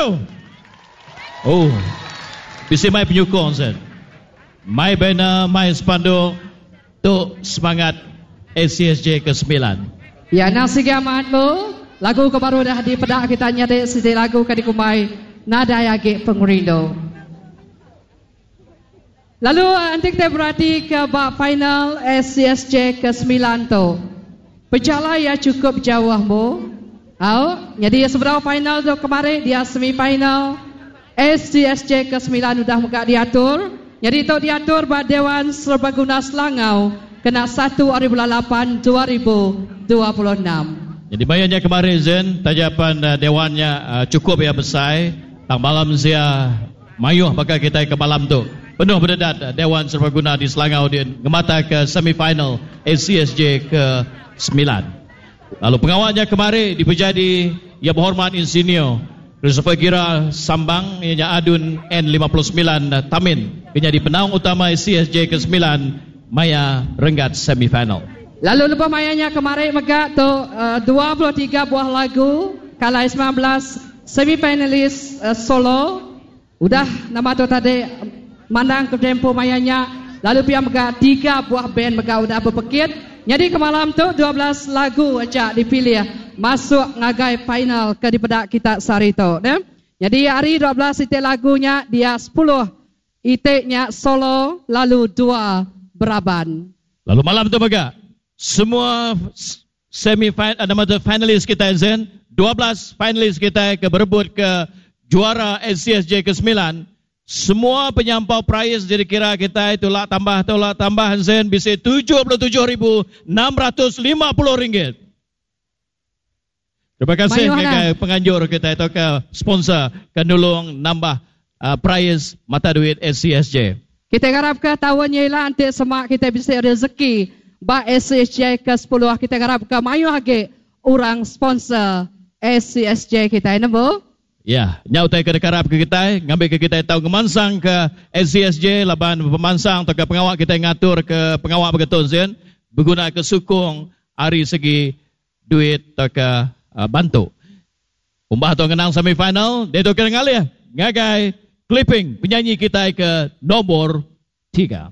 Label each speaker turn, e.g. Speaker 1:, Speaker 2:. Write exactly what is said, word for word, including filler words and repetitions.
Speaker 1: satu. Oh. Bisi mai penyukung Zen. Mai banner, mai spanduk. Tu semangat A C S J ke sembilan.
Speaker 2: Ya, nasi amat bu. Lagu ke baru dah dipedak kita nyadi siti lagu ke dikumbai Nadai Agi Pengerindu. Lalu nanti kita berarti ke bab final A C S J ke sembilan tu. Pejalai ya cukup jauh bu. Au, jadi seberapa final tu kemarin dia semi final A C S J ke sembilan udah muka diatur. Jadi tu diatur ba Dewan Serbaguna Selangau kena satu hari bulan lapan dua ribu dua puluh enam.
Speaker 1: Jadi bayarnya kemarin Zen, tajapan uh, dewannya uh, cukup ya besar, tang malam sia mayuh bakal kita ke malam tu. Penuh berdedat Dewan Serbaguna di Selangau di ngemata ke semifinal A C S J ke sembilan. Lalu pengawalnya kemarin dipejadi Yang Berhormat Insinyur Christopher Gira Sambang ianya Adun N lima puluh sembilan Tamin menjadi penaung utama A C S J ke sembilan Maya Renggat semifinal.
Speaker 2: Lalu lepas mayanya kemarin megak tu uh, dua puluh tiga buah lagu kalai sembilan belas semifinalis uh, solo. Udah nama tu tadi mandang ke tempo mayanya lalu pia megak tiga buah band megak udah berpekit. Jadi kemalam tu dua belas lagu aja dipilih masuk ngagai final ke dipedak kita sehari tu, ne? Jadi hari dua belas itik lagunya dia sepuluh itiknya solo lalu dua beraban.
Speaker 1: Lalu malam tu megak semua semi final nama tu finalis kita Zen, dua belas finalis kita ke berebut ke juara A C S J ke sembilan. Semua penyampau prize jadi kira kita itulah tambah tolak tambah Zen bisa tujuh puluh tujuh ribu enam ratus lima puluh ringgit. Terima kasih
Speaker 2: Mayuh
Speaker 1: ke
Speaker 2: lah.
Speaker 1: penganjur kita atau ke sponsor ke nulung nambah, uh, prize mata duit A C S J.
Speaker 2: Kita harap ke tahun ni lah nanti semak kita bisa rezeki ba A C S J ke sepuluh. Kita harap ke mayuh lagi orang sponsor A C S J kita ini bu.
Speaker 1: Ya, nyau tai ke dekarap ke kita, ngambil ke kita tahu kemansang ke A C S J laban pemansang atau ke pengawak kita ngatur ke pengawak begitu Zen berguna ke sukung hari segi duit atau ke, uh, bantu. Umbah tu kenang semifinal, dia tu kena ngalih ngagai clipping penyanyi kita ke nombor tiga.